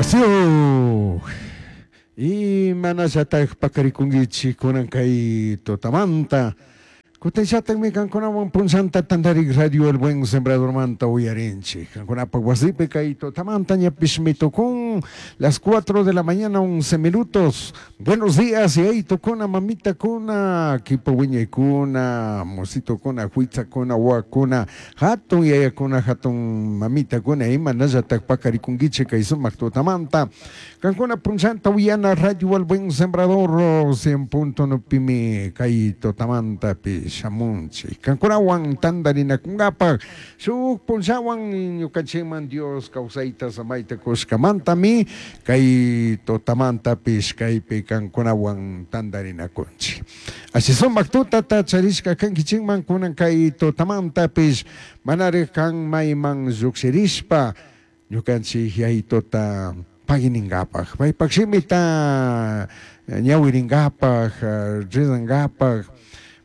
Wasiyuj imanallataj paqarikunkichik kunan kay tutamanta? Kutinllatakmi kankunawan punllanta tantarik Radio El Buen Sembradormanta uyarinchik. Kankunapak wasipi kay tutamanta ñapishmi tukun las 4 de la mañana 11 minutos. Buenos días, yayitukuna, mamitakuna, kipa wiñaykuna, mositokuna, huitzakuna, wawakuna, hatun yayakuna, hatun mamitakuna, imanallatak paqarikunkichik kay sumak tutamanta. Kankuna punllanta uyana Radio El Buen Sembrador 100.9 pimi kay tutamantapi shamunchik. Kankunawan tantarinakunkapak shuk punllawan ñukanchikman Dios kawsayta samayta kushkamantami kay tutamantapish kaypi kankunawan tantarinakunchik. Así sumak tutata charishka kankichikman kunan kay tutamantapish manarik kan mayman llukshirishpa ñukanchik yayituta pagininkapak paypak shimita ñawirinkapak rizankapak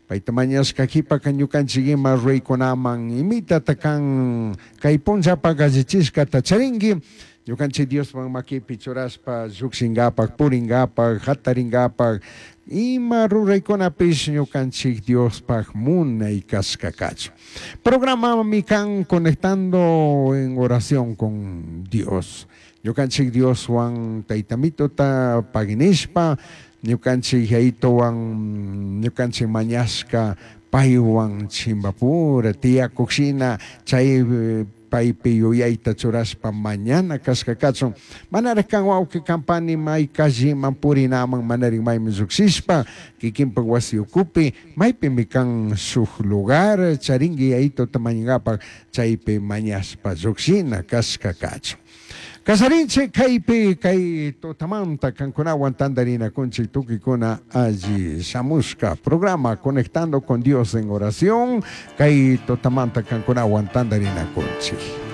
payta mañashka kipaka ñukanchik ima ruraykunaman imitata kan kay punllapak allichishkata charinki ñukanchik Diosman makipi churashpa llukshinkapak purinkapak jatarinkapak ima ruraykunapish ñukanchik Diospak munay kashka kachun. Programami kan Conectando en Oración con Dios. Ñukanchik Dioswan taytamituta paginishpa ñukanchik yayituwan ñukanchik mañashka paywan chimbapura tiyakukshina chay paypi yuyayta churashpa mañana kashka kachun manarik kan wawqi kampani may kalliman purinaman manarik mayman llukshishpa kikinpak wasi ukupi maypimi kan shuk lugar charinki yayituta mañankapak chaypi mañashpa llukshina kashka kachun. Kasarinchik kaypi kay tutamanta kankunawan tantarinakunchik tukikuna alli shamushka programa Conectando con Dios en Oración kay tutamanta kankunawan tantarinakunchik.